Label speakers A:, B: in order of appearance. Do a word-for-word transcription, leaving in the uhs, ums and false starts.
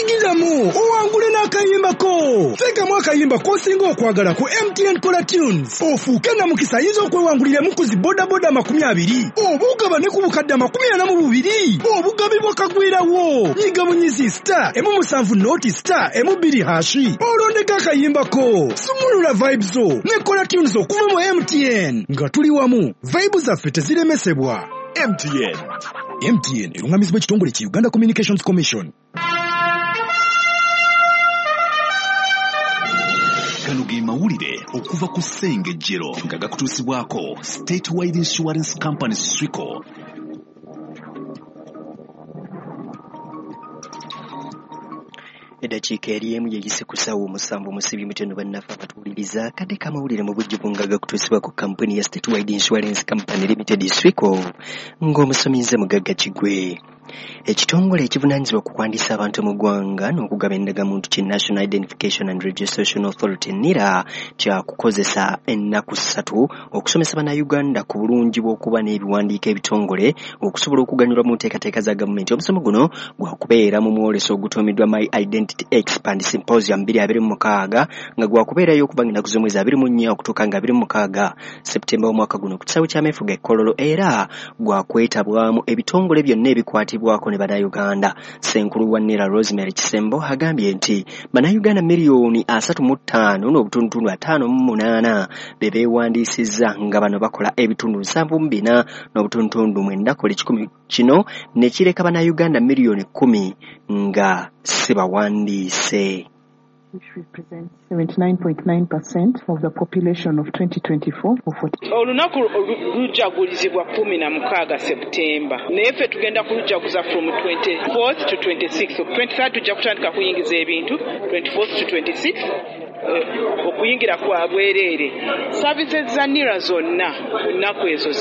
A: Yingiramu owangule n'akayimbako. Teekamu akayimba k'osinga okwagala ku M T N Kola Tunes, ofuuke namukisa ayinza okwewanguliramu ku zi bodaboda makumi abiri, oba ogabane ku bukadde amakumi ana mu bubiri obugabibwa kagwirawo. Nyiga bunyizi star emu musanvu noti star emu bbiri hashi, olondeko akayimbako. Sumulula vibes zo ne Kola Tunes okuva mu M T N. Nga tuli wamu, vibe zaffe teziremesebwa. M T N. M T N erungamizibwa ekitongole ki Uganda Communications Commission.
B: Gano ge mawulire okuva ku Ssengejjero nga gakutuusibwako Statewide Insurance Company Swico.
C: Eddakiika eri emu yeyise ku ssaawa omusanvu musibi muteno bannaffe abatuwuliriza kadde k'amawulire mu bujjuvu nga gakutuusibwa ku kampuni ya Statewide Insurance Company Limited Swico, ng'omusomi nze Mugagga Kigwe. Ekitongole ekivunaanyizibwa ku kuwandiisa abantu mu ggwanga n'okugaba endagamuntu ki National Identification and Registration Authority NIRA kyakukozesa ennaku ssatu okusomesa bannayuganda ku bulungi bw'okuba n'ebiwandiiko ebitongole okusobola okuganyulwa mu nteekateeka za gavumenti. Omusomo guno gwakubeera mu mwoleso ogutuumiddwa My Identity Expand Symposium bbiri abiri mu mukaaga nga gwakubeerayo okuva ng'ennaku z'omwezi abiri mu nnya okutuuka nga abiri mu mukaaga Septemba w'omwaka guno ku kisaawe ky'ameefuga e Kololo, era gwakwetabwamu ebitongole byonna ebikwatibwa bwako ne bannayuganda. Ssenkulu wa NIRA Rosemary Kisembo agambye nti bannayuganda miliyoni asatu mu ttaano n'obutundutundu ataano mu munaana be beewandiisizza nga bano bakola ebitundu nsanvu mu bina n'obutundutundu mwenda ku buli kikumi, kino ne kireka bannayuganda miliyoni kkumi nga si bawandiise.
D: Which represents seventy-nine point nine percent of the population of twenty twenty-four.
E: Olunaku lujagulizibwa kumi na mukaaga September, naye ffe tugenda kulujaguza from twenty-fourth to twenty-sixth. twenty-third tujja kutandika kuyingiza ebintu, twenty-fourth to twenty-sixth okuyingira kwa bwereere. Services za NIRA zonna nnaku ezo